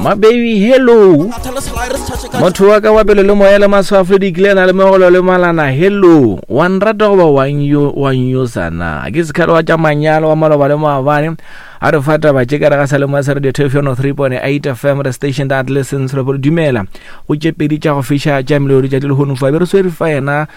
Ma baby hello. Motho wa ka wa pele le moya le maswafo le dikilena le megolo le malana hello. Wa nrata goba wa nyosa na? Ke sekhalo wa tša manyalo wa maloba le maabane. A re fa taba tše ka re ga sa le moya sa radio Thefo 103.8 FM the station that listens re dumela. Go tše pedi tša go fiša tša melodi tša dilehono fa be re swere fa yena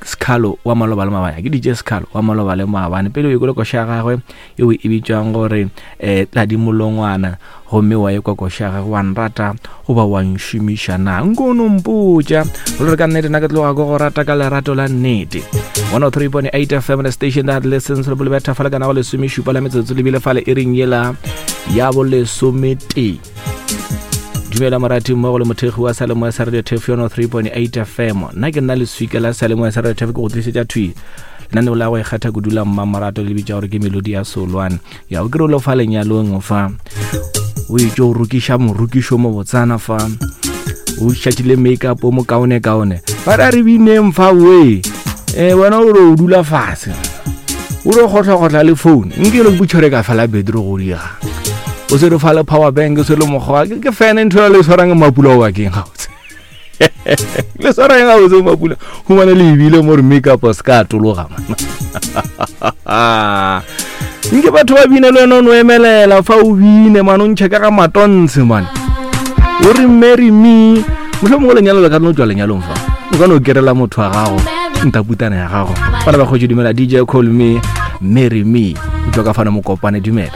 Sekhalo wa maloba le maabane ke DJ Sekhalo wa maloba le maabane pele o ikole koša ya gagwe yeo e bitšwang gore um tladimolongwana gomme wa ekwa koša ya gagwe wa nrata goba wa nšomiša na nko no mpotša go le re ka nnete na ke tloga ko go rata ka lerato la nnete 103.8 fm the station that listens re bolebetha fa le kana go lesomešupa la metsotso lebile fale e reng yela ya bolesometee dumela morati mmogo le mothekgi wa salemoya sa radio tef yono 3.8 fm nna ke nna leswika la salemoya sa radio tef ke go tlisetša thwi lenaneo la go ikgatha kudu la mmamorato le bitša gore ke melodi ya solwane ya o kere o le fa lenyalong fa o itse o rokiša morukišo mo botsana fa o šatšile makeup o mokaone kaone ba ra re bineng fa we e wena o re o dula fase o re gotlhagotla le phone nke le butšhore ka fela bedro go diga o se re fa le power bank o se le mokgwa ke fene ntho ya le tshwarang mapula o bakeng gabotse le tshwarang gabotse mapula humane le ebile mo re makeup se ka atologa nke batho ba bine le wena o no emelela fa o bine mane o ntšhe ka ga matontshe mane o re marry me motlho mongwe lenyalo le ka no tswa lenyalong fa o ka no kerela motho wa gago ntaputana ya gago bana ba kgotse dumela dj call me marry me o tswa ka fana mokopane dumela.